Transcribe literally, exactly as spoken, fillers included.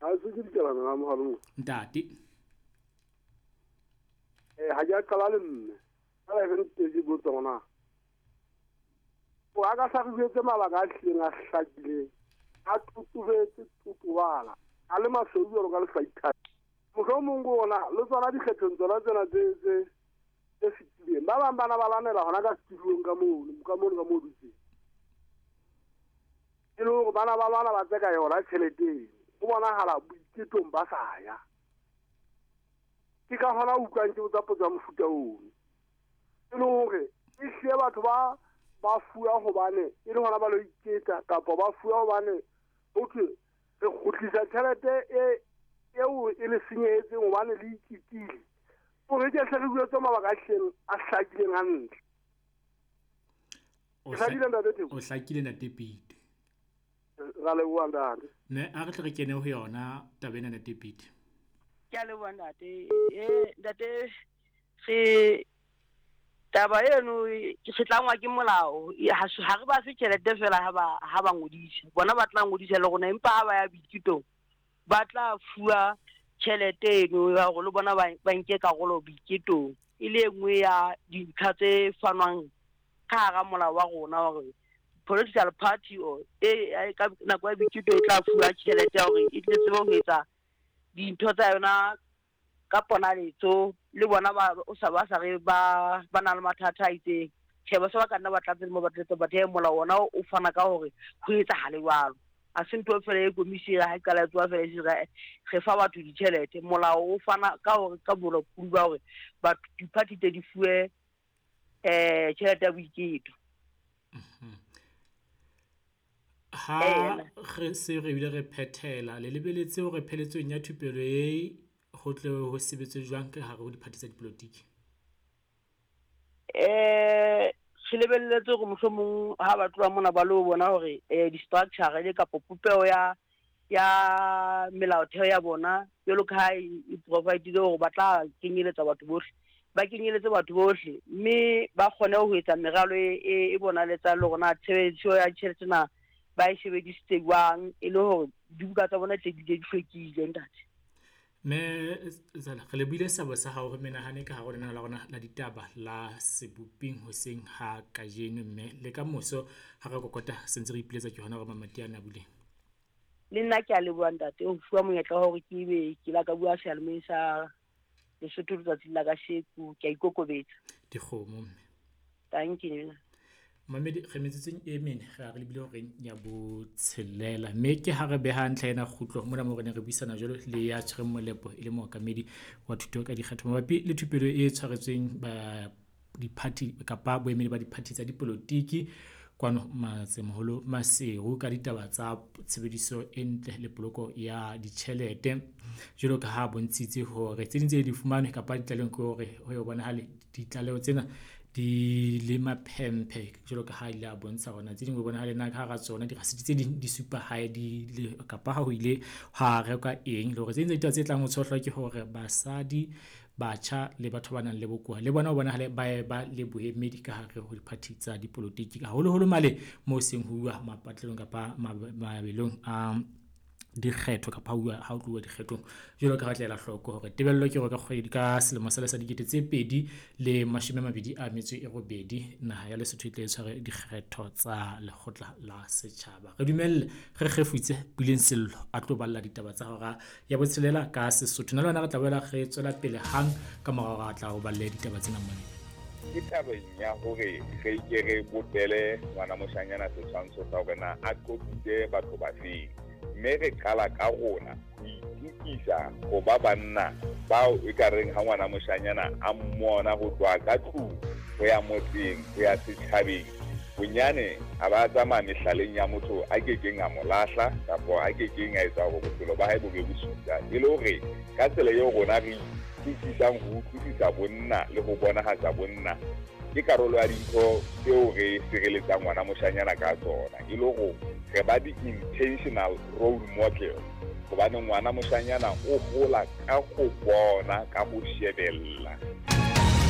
Ha se ke dikelana la mohalong. Ntate. Eh ha ke qala le mme. Ka la re ntse botsa hona. O a ka sa re jwetse mabaka a hlileng a hlakileng. A tutubetse tutubala. A le masweu jwalo ka lehlaithati. Mohlomong ona le tsona dikgethong tsona tsena tse tse tse fetileng. Ba bang bana ba lwanela hona ka setulong ka mono, ka mono ka mo dutseng. E le hore bana ba lwana ba tseka yona tjhelete. Ho bonahala boiketong ba sa ya. Ke ka hona utlwang ke botsa potso ya mofuta ono. E le hore e hlile batho ba ba fuwa hobane e le hona ba lo iketa kapa ba fuwa hobane okay re kgutlisa tjhelete e eo e le senyehetseng hobane le iketile. Hore ke hle re bue mabaka a hlileng a hlakileng hantle. O hlakile ntate Theko? O hlakile ntate Pete. Ra leboha ntate. Ne a re tle re kene ho yona taba ena ntate Pete. Ke a leboha ntate. Eh ntate re taba eno ke tlangwa ke molao. Ha re ba fe tjhelete fela ha ba ha ba ngodisa. Bona ba tla ngodisa le rona empa ha ba ya boiketong ba tla fuwa tjhelete eno ya hore le bona ba ba nke karolo boiketong. E le e nngwe ya dintlha tse fanwang ka hara molao wa rona hore political party o e ka nako ya boiketo e tla fuwa tjhelete ya hore e tle tsebe ho etsa dintho tsa yona ka ponaletso le bona ba o sa ba sa re ba ba na le mathata a itseng. Tjhe ba se ba ka nna ba tlatse mo ba tlatse ba the molao ona o fana ka hore ho etsahale jwalo. A se ntho fela e komisi ha e qala e tsoa fela e re re fa batho ditjhelete. Molao o fana ka hore ka bolokolohi ba hore batho di-party tse di fuwe eh tjhelete ya boiketo. Ha re se re bile re phethela le lebeletse hore pheletsong ya thupelo e ho tle ho sebetswe jwang ka hare ho diphathi tsa dipolotiki? Eh re lebelletse hore mohlomong ha ba tloha mona ba lo bona hore eh di-structure le kapa popeho ya ya melaotheo ya bona jwalo ka ha e provide-ile hore ba tla kenyeletsa batho bohle, ba kenyeletse batho bohle mme ba kgone ho etsa meralo e e bonaletsang le hore na tshebediso ya tjhelete na ba e sebedisitse jwang e le hore dibuka tsa bona tle di di hlwekile ntate. Mme Zala, re lebohile seabo sa hao re menahane ka hare ho lenaneo la rona la ditaba la Seboping hoseng ha kajeno, mme le ka moso ha re kokota sentse re ipiletsa ke hona hore mamati ana a buleng. Le nna ke a leboha ntate ho fuwa monyetla wa hore ke be ke la ka bua seyalemoyeng sa Lesotho letsatsing la kasheko. Ke a ikokobetsa. Dikgomo mme. Thank you. Mamedi re metsotsong e mene re a re lebile horeng ya botshelela, mme ke ha re beha ntlha ena kgutlo mona mo re ne re buisana jwalo le ya tshwereng molepo e le mookamedi wa thuto ka dikgetho mabapi le thupelo e tshwaretsweng ba diphathi kapa boemedi ba diphathi tsa dipolotiki kwano Matsemoholo Maseru ka ditaba tsa tshebediso e ntle le poloko ya ditjhelete. Jwalo ka ha bontshitse hore tse ding tse di fumanwe kapa ditlalehong ke hore ho yo bonahale ditlaleho tsena di le maphemphe jwalo ka ha ile a bontsha hore na tse ding ho bonahale na ka hara tsona dirasiti tse ding di supa hae di le kapa ha ho ile ha rekwa eng, le hore tse ding tsa ditaba tse tlang ho tshohlwa ke hore basadi, batjha le batho ba nang le bokowa le bona ho bonahale ba e ba le boemedi ka hare ho diphathi tsa dipolotiki, haholoholo male moo seng ho uwa mapatlelong kapa mabelong a dikgetho kapa ha ho tluwa dikgethong. Jwalo ka ha tlela hloko hore tebello ke hore ka kgwedi ka selemo sa sa dikete tse pedi le mashome a mabedi a metso e robedi naha ya Lesotho e tle e tshware dikgetho tsa lekgotla la setjhaba. Re dumelle re kgefutse Puleng Sello a tlo balla ditaba tsa hora ya botshelela ka Sesotho. Na le wena re tla boela re tswela pele hang ka morao re tla o balle ditaba tsena mona. Ke tabeng ya hore re ke re bopele ngwana moshanyana setshwantsho sa hore na a qobile batho ba feng, mme re qala ka rona ho itukisa ho ba banna bao e ka reng ha ngwana moshanyana a mmona ho tloha ka tlung ho ya motseng ho ya setjhabeng, bonyane a ba tsamaya mehlaleng ya motho a kekeng a mo lahla kapa a kekeng a etsa hore bophelo ba hae bo be bosula. E le hore ka tsela eo rona re itukisang ho utlwisisa bonna le ho bonahatsa bonna ke karolo ya dintho tseo re sireletsang ngwana moshanyana ka tsona, e le hore re ba di-intentional role model, hobane ngwana moshanyana o hola ka go bona, ka go shebella.